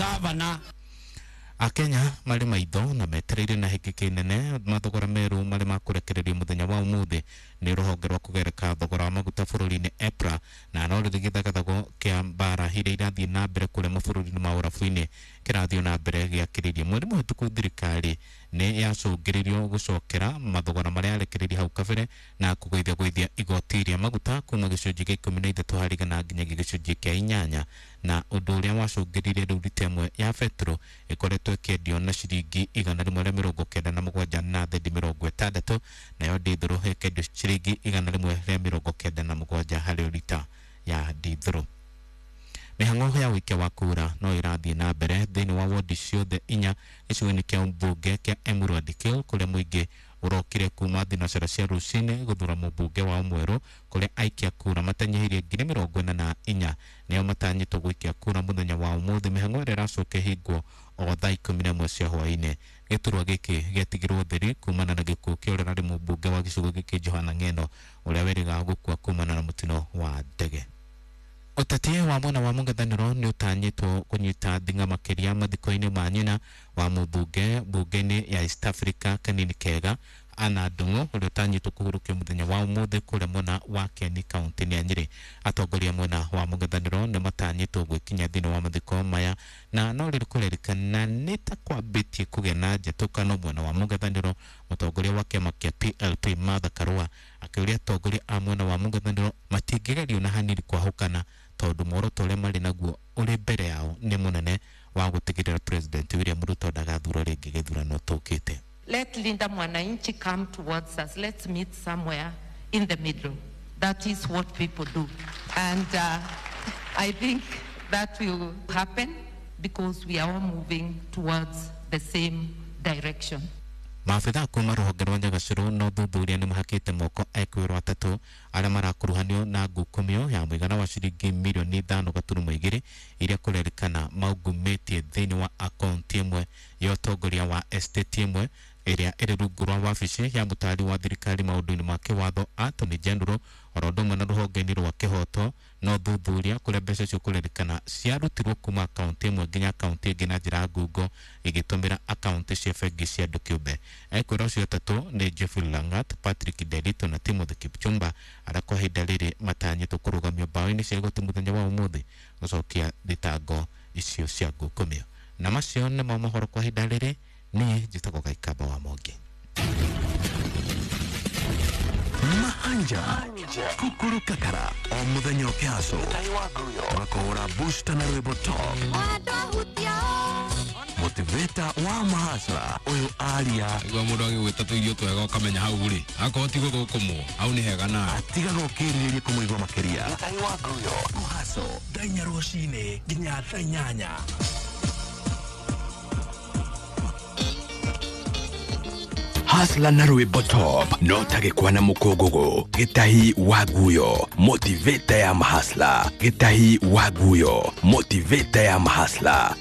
Gavana. Akenya marĩ maitho na metereire na hĩkĩkĩ nene mathogora merũ marĩ makũrekererio mũthenya wa ũmũthĩ nĩ rũhonge rwa kũgereka thogora wa maguta bũrũri-inĩ EPRA, na no rĩrĩ gĩthagathago kĩa mbara iria irathiĩ na mbere kũrĩa mabũrũri-inĩ ma ũrabu-inĩ kĩrathiĩ na mbere gĩakĩrĩirie. Mweri mũhĩtũku thirikari nĩ yacũngĩrĩirio gũcokera mathogora marĩa yarekereirie hau kabere na kũgũithia gũithia igoti rĩa maguta kuma gĩcunjĩ kĩa 13 harĩ igana nginyagia gĩcunjĩ kĩa 8, na ũndũ ũrĩa wacũngĩrĩirie rĩu rita ĩmwe ya betũrũ ĩkoretwo ĩkĩendio na ciringi 197 na thendi 60, nayo ndithũrũ ĩkendio ciringi 197 harĩ rita ya ndithũrũ. Mĩhang'o ya ũikia wa kura no ĩrathiĩ na mbere thĩinĩ wa wodi ciothe 4 gĩcigo-inĩ kĩa mbunge kĩa Emurua Dikirr kũrĩa mũingĩ ũrokire kuma thinacara cia rũcinĩ gũthura mũmbunge wao mwerũ, kũrĩa aikia kura matanyihĩirie 44,000 nĩo matanyĩtwo gũikia kura mũthenya wa ũmũthĩ. Mĩhang'o ĩrĩa ĩracoka ĩhingwo o thaa 11 cia hwaĩ-inĩ. Gĩturwa gĩkĩ gĩatigirwo ũtheri kumana na gĩkuũ kĩa ũrĩa ũrarĩ mũmbunge wa gĩcigo gĩkĩ Johana Ng'eno, ũrĩa werĩgaga gũkua kumana na mũtino wa ndege. Ũteti wa mwena wa mũng'ethanĩro nĩ ũtanyĩtwo kũnyita thing'a makĩria mathiko-inĩ ma nyina wa mũmbunge mbunge-inĩ ya East Africa Kanini Kega Anna Ndung'u, ũrĩa ũtanyĩtwo kũhurũkio mũthenya wa ũmũthĩ kũrĩa mwena wa Kieni kaunti-inĩ ya Nyĩrĩ. Atongoria mwena wa mũng'ethanĩro nĩ matanyĩtwo gwĩkinya thĩinĩ wa mathiko maya, na no rĩrĩ kũrerĩkana nĩ ta kwambĩtie kũgĩa na njatũkano mwena wa mũng'ethanĩro. Mũtongoria wa kĩama kĩa PLP Martha Karua akĩũria atongoria a mwena wa mũng'ethanĩro matingĩgerio na hanini kwahũkana, tondũ muoroto ũrĩa marĩ naguo ũrĩ mbere yao nĩ mũnene wa gũtigĩrĩra President William Ruto ndagathurwo rĩngĩ gĩthurano tũkĩte. Let Linda Mwananchi come towards us. Let's meet somewhere in the middle. That is what people do. And I think that will happen because we are all moving towards the same direction. Maabithaa kuma rũhonge rwa Nyagacĩrũ na ũthuthuria nĩ mahakĩte moko ekwĩrwo atatũ arĩa marakuruhanio na ngukumio ya mũigana wa ciringi mirioni 5.2 iria kũrerĩkana maungumĩtie thĩinĩ wa akaunti ĩmwe ya ũtongoria wa estate ĩmwe ĩrĩa ĩrĩ rungu rwa wabici ya mũtaari wa thirikari maũndũ-inĩ ma kĩwatho Attorney General, oro ũndũ ũmwe na rũhonge-inĩ rwa kĩhoto na ũthuthuria kũrĩa mbeca icio kũrerĩkana ciarutirwo kuma akaunti ĩmwe nginya akaunti ĩngĩ na njĩra ya ngungo igĩtũmĩra akaunti cia bengi cia andũ kĩũmbe. Ekwĩra ũcio atatũ nĩ Geoffrey Langat, Patrick Nderito na Timothy Kipchumba, arĩa kwa ihinda rĩrĩ matanyĩtwo kũrũgamio mbaũ-inĩ cia igoti mũthenya wa ũmũthĩ gũcokia thitango icio cia ngukumio. Na macio nĩmo mohoro kwa ihinda rĩrĩ. Niĩ njĩtagwo Gaikamba wa Mongi. Mahanja kukuru kakara o muthenya ũkĩhaco ũgakũhũra booster na rwĩmbo top motivator wa mahasra ũyũ aria Nĩguo mũndũ agĩgwĩta tũirio twega ũkamenya hau rĩ akorwo ti gũthũkũmwo hau nĩ hega nawe atigaga ũkĩrirĩria kũmũigua makĩria. Mũhaco thaa 4 rũcinĩ nginya thaa 8. Hasla na rwĩmbo top no ta gĩkwa na mũkũngũgũ. Gĩtahi wa nguyo motivator ya mahasla. Gĩtahi wa nguyo motivator ya mahasla.